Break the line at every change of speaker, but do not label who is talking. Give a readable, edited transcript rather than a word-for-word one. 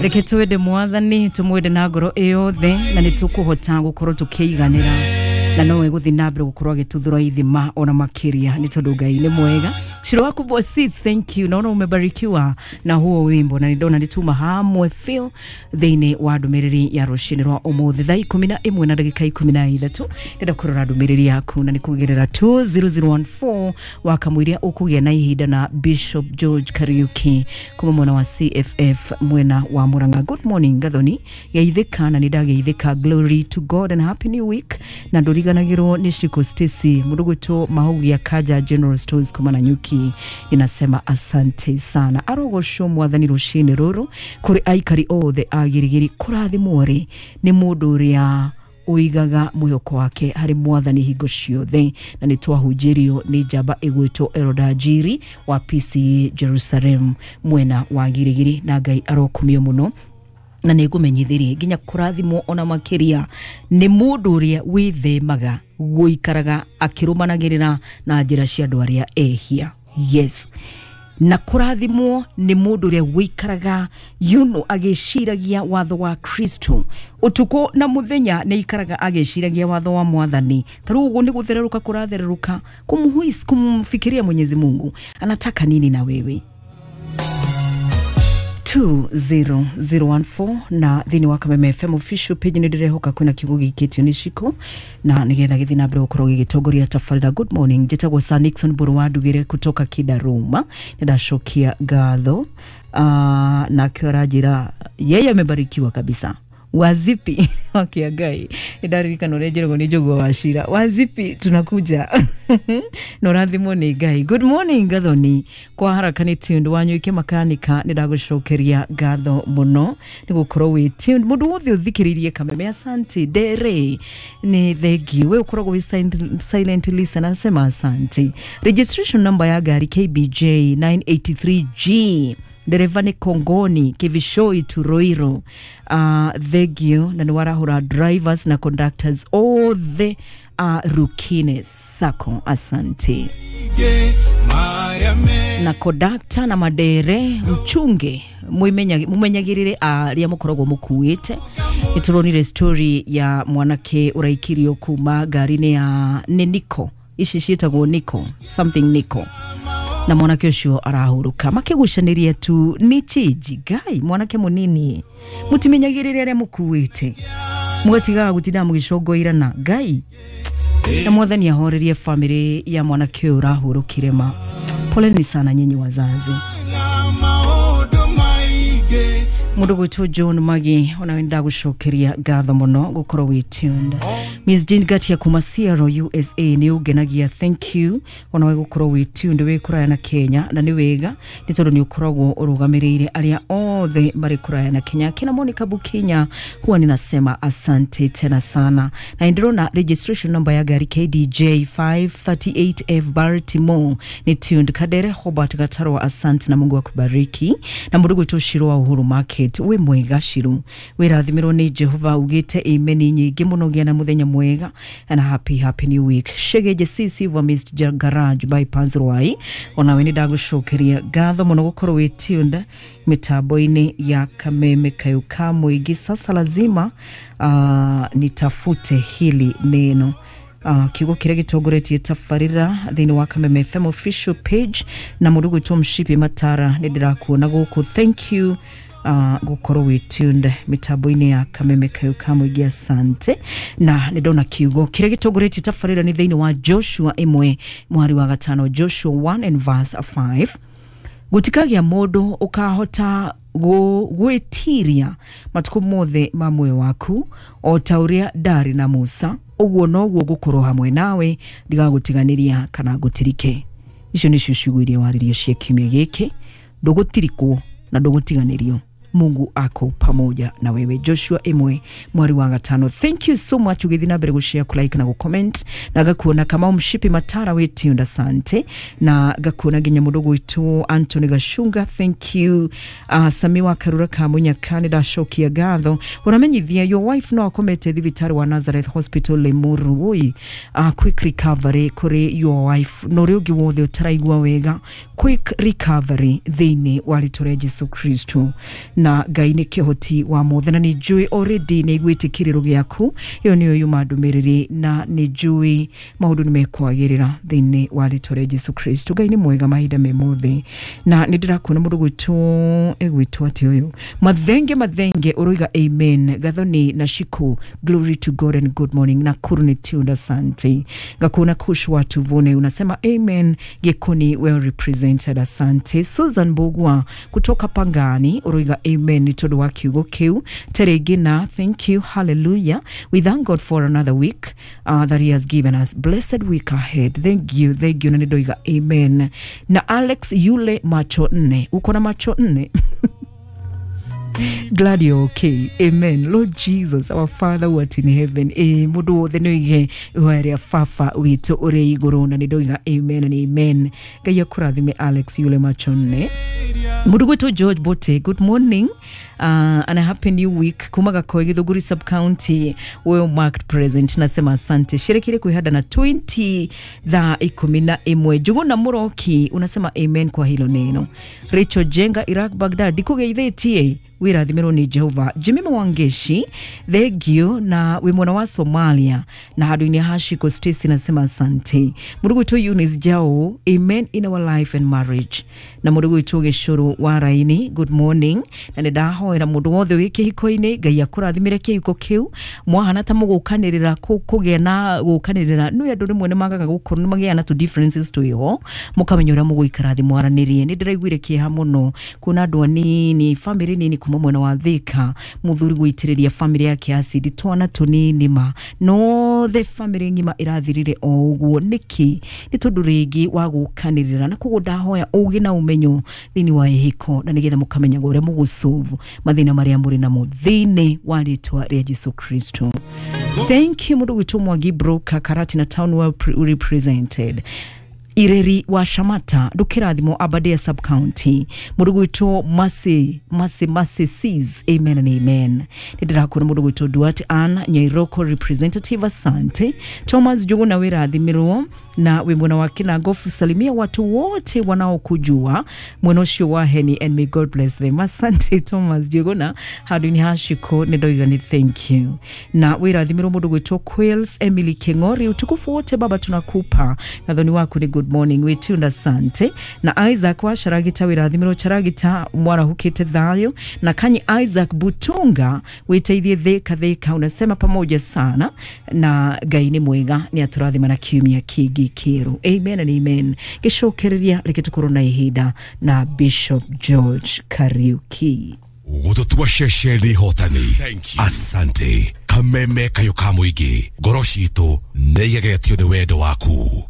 Reke twende mwathani, tumwende na ngoro yothe, na nĩ tũkũhota gũkorwo tũkĩiganĩra, na nowe gũthiĩ na mbere gũkorwo agĩtũthũra ithima ona makĩria, nĩ tondũ Ngai nĩ mwega. Shiro waku Bosis, thank you. Naona umebarikiwa na huo wimbo, na nindona nituma hamwe feel thĩinĩ wa ndũmĩrĩri ya rũcinĩ rwa ũmũthĩ thaa 11 na ndagĩka 13. Ndĩrenda kũrora ndũmĩrĩri yaku na nĩ kũgerera 20014 wakamũiria ũkũgĩa na ihinda na Bishop George Kariuki kuma mwena wa CFF mwena wa Murang'a. Good morning Gathoni, geithĩka na nĩndageithĩka. Glory to God and happy new week. Na ndũriganagĩrwo nĩ Shiko Stacy mũndũ gwĩtwo Mahugia Kaja General Stores kuma na Nyuki, inasema asante sana. Arogocwo mwathani rũcinĩ rũrũ kũrĩ aikari othe a Girigiri. Kũrathimwo rĩ nĩ mũndũ ũrĩa ũigaga mwĩhoko wake harĩ mwathani hingo ciothe, na nĩ twahunjĩrio nĩ njamba ĩgwĩtwo Eroda Njiri wa PCA Jerusalem mwena wa Girigiri, na Ngai arokumio mũno. Na nĩ ngũmenyithirie nginya kũrathimwo ona makĩria nĩ mũndũ ũrĩa wĩthemaga gũikaraga akĩrũmanagĩrĩra na njĩra cia andũ arĩa ehia. Yes, na kũrathimwo nĩ mũndũ ũrĩa wĩikaraga agĩciragia watho wa Kristo ũtukũ na mũthenya, nĩ ikaraga agĩciragia watho wa mwathani. Ta rĩu ũguo nĩ gũthererũka kũrathererũka kumfikiria Mwenyezi Mungu anataka nini na wewe. 20014 na thĩinĩ wa Kameme FM official page nĩ ndĩrehoka kwĩna kiugo gĩikĩtio nĩ Ciko na nĩgetha gĩthiĩ na mbere gũkorwo gĩgĩtongoria tabarĩra. Good morning, njĩtagwo Sir Nixon Mbũrũ wa Ndugĩre kutoka Kidaruma, nĩndacokia ngatho. Nakĩo aranjĩra yeye amebarikiwa kabisa. Wazipi wakia Ngai, nĩndaririkana ũrĩa njĩragwo nĩ Njũgũa wa Cira. Wazipi tunakuja na ũrathimwo nĩ Ngai. Good morning Gathoni, kwa haraka nĩ tuned Wanyuike makanika, nĩ ndagũcokeria ngatho mũno nĩ gũkorwo wĩ tuned. Mũndũ wothe ũthikĩrĩirie Kameme, asante. Ndere nĩ thengiũ, we ũkoragwo wĩ silent listener, anasema asante. Registration number ya ngari KBJ 983G, ndereva nĩ Kongoni Kivishoi Turoiro. Thengio na nĩ warahũra drivers na conductors othe a Rukine Sacco, asante. Na conductor na madere mchunge mumenyagĩrĩre arĩa mũkoragwo mũkuĩte. Nĩtũronire story ya mwanake ũraikirio kuma ngari-inĩ ya nĩ Niko, ici ciĩtagwo Niko something Niko, na mwanake ũcio arahurũka makĩgucanĩria tu nĩ change. Ngai, mwanake mũnini, mũtimenyagĩrĩre arĩa mũkuĩte, mũgatigaga gũtinda mũgĩcongoirana. Ngai na mwathani ahorerie famĩlĩ ya mwanake ũyũ ũrahurũkire ma. Poleni sana nyinyi wazazi. Mũndũ gwĩtwo John Magi, ona ndagũcokeria ngatho mũno gũkorwo wĩ tuned. Miss Jean Gatia kuma Seattle USA, nĩ ũngenagia, thank you ona we gũkorwo wĩ tuned wĩ kũraya na Kenya, na nĩ wega nĩ tondũ nĩ ũkoragwo ũrũgamĩrĩire arĩa othe marĩ kũraya na Kenya. Kina Monica Bukinya, huwa ninasema asante tena sana. Na ndĩrona registration number ya ngari KDJ 538F Baltimore ni tuned. Kadere Hobart Gatarwa, asante na Mungu akubariki. Na mũndũ gwĩtwo Shiro wa Uhuru Market, wĩ mwega Shiru, wĩrathimĩrwo nĩ Jehova, ugĩte amen nyingĩ mũno, gĩa na mũthenya mwega and happy happy new week. Shegeje CC wa Mr Garage bypass Rwai, onawe nĩ ndagũcokeria ngatho mũno gũkorwo wĩ tuned mitambo-inĩ ya Kameme Kayũ ka Mũingĩ. Sasa lazima nitafute hili neno kiugo kĩrĩa gĩtongoretie tabarĩra thĩinĩ wa Kameme FM official page, na mũndũ gwĩtwo Mshipi Matara, nĩ ndĩrakuona gũkũ, thank you gũkorwo wĩ tuned mitambo-inĩ ya Kameme Kayũ ka Mũingĩ, asante. Na nĩ ndona kiugo kĩrĩa gĩtongoretie tabarĩra nĩ thĩinĩ wa Joshua 1 mwari wa 5, Joshua 1 and verse 5. Gũtikagĩa mũndũ ũkahota gwĩtiria matukũ mothe ma muoyo waku, o ta ũrĩa ndarĩ na Musa, ũguo noguo ngũkorwo hamwe nawe, ndigagũtiganĩria kana ngũtirike. Icio nĩcio ciugo iria waririo cia kiumia gĩkĩ, ndũgũtirikwo na ndũgũtiganĩrio. Mungu ako pamoja na wewe. Joshua 1 mwari wa 5. Thank you so much ũgĩthiĩ na mbere gũshare, kulike na gũcomment, na gakuona Kamau Mshipi Matara wĩ tuned, asante. Na gakuona nginya mũndũ gwĩtwo Anthony Gashunga, thank you. Samiwa Karura Kamunyaka, nĩ ndacokia ngatho. Ũramenyithia your wife no akomete thibitarĩ wa Nazareth Hospital Limuru. Woi, quick recovery kũrĩ your wife na ũrĩa ũngĩ wothe ũtaraigua wega, quick recovery thĩinĩ wa rĩtwa rĩa Jesu Kristo. Na Ngai nĩ kĩhoti wa mothe, na nĩ njũĩ already nĩ iguĩte kĩrĩro gĩaku. Ĩyo nĩyo yuma ndũmĩrĩri, na nĩ njũĩ maũndũ nĩ mekwagĩrĩra thĩinĩ wa rĩtwa rĩa Jesu Kristo. Ngai nĩ mwega mahinda me mothe, na nĩ ndĩrakuona mũndũ gwĩtwo egwĩtwo atĩ ũyũ Mathenge Mathenge ũroiga amen. Gathoni na Shiku, glory to God and good morning. Nakuru ni tuned, asante. Ngakuona Kush watu Vune unasema amen. Gekoni well represented, asante. Susan Bogwa kutoka Pangani uroiga amen nĩ tondũ wa kiugo kĩu. Teregina, thank you, hallelujah. We thank God for another week that he has given us. Blessed week ahead. Thank you, thank you. Na nĩ amen. Na Alex yule macho nne, uko na macho nne. Glad you're okay. Amen. Lord Jesus, our Father who art in heaven. Mundu wothe nĩ oige ihoya Baba witũ ũrĩ igũrũ, na nĩ ndoiga amen and amen. Ngai akũrathime Alex yule macho nne. Mundu gwitũ George Bote, good morning and a happy new week. Kuma Gakoi Githunguri sub county, well marked present. Nasema asante. Sherekere kwihanda na 20 thaa 11. Njuguna Muroki unasema amen kwa hilo neno. Rachel Jenga Iraq Baghdad ndikugeithĩtie, wirathimirwo ni Jehova. Jimmy Mwangeshi, thank you. Na wi mwena wa Somalia na handũ-inĩ ha Shiko Stacy nasema asante. Mũndũ gwitũ Eunice Jao, amen in our life and marriage. Na mũndũ gwitũ Gĩcũrũ wa Raini, good morning. Na nĩ ndahoera mũndũ wothe wĩ kĩhiko-inĩ, Ngai akũrathimĩre kĩhiko kĩu. Mwahana ta mũgũkanĩrĩra kũgĩa na gũkanĩrĩra, nĩ andũ rĩmwe nĩ magaga gũkorwo nĩ magĩaga na tũ differences twĩho, mũkamenya ũrĩa mũgũikara thĩ mwaranĩrie. Nĩ ndĩraiguire kĩeha mũno kuona andũ anini, famĩlĩ nini kuma mwena wa Thika, mũthuri gũitĩrĩria famĩlĩ yake acidi, twana tũnini ma nothe famĩlĩ ng'ima ĩrathirire o ũguo. Nĩkĩ? Nĩ tondũ rĩngĩ wa gũkanĩrĩra. Na koguo ndahoya ũgĩ na ũmenyo thĩinĩ wa ihiko, na nĩgetha mũkamenyaga ũrĩa mũgũsolve mathĩna marĩa mũrĩ namo thĩinĩ wa rĩtwa rĩa Jesu Kristo. Thank you mũndũ gwitũ Mwangi Broker Karatina Town, well represented. Ireri wa Shamata ndukirathimo Aberdare sub county, mũndũ gwitũ Masi Masi Masi sees amen and amen. Nĩ ndĩrakuona mũndũ gwitũ Duarte Ann Nyairoko representative, asante. Thomas Njuguna wĩrathimirwo na wĩ mwena wa Kinangofu, salimia watu wote wanaokujua mwena ũcio wa Heni and may God bless them. Asante Thomas Njuguna handũ-inĩ ha Shiko, nĩ ndoiga nĩ thank you. Na wĩrathimirwo mũndũ gwitũ Quails Emily Keng'ori, utukufu wote Baba tunakupa, nathoni waku ni good morning witunda, asante. Na Isaac wa Charagita wĩrathimirwo Charagita mwarahukĩte thayũ. Na Kanyi Isaac Butunga wĩteithie thika thika, unasema pamoja sana na Ngai nĩ mwega, nĩ atũrathima na kiumia kĩngĩ kĩerũ. Amen and amen. Gĩcokereria reke tũkorwo na ihinda na Bishop George Kariuki.
Gũtũtua ceceni hotani. Asante. Kameme kayũ ka mũingĩ, ngoro citũ nĩ igegetio nĩ wendo waku.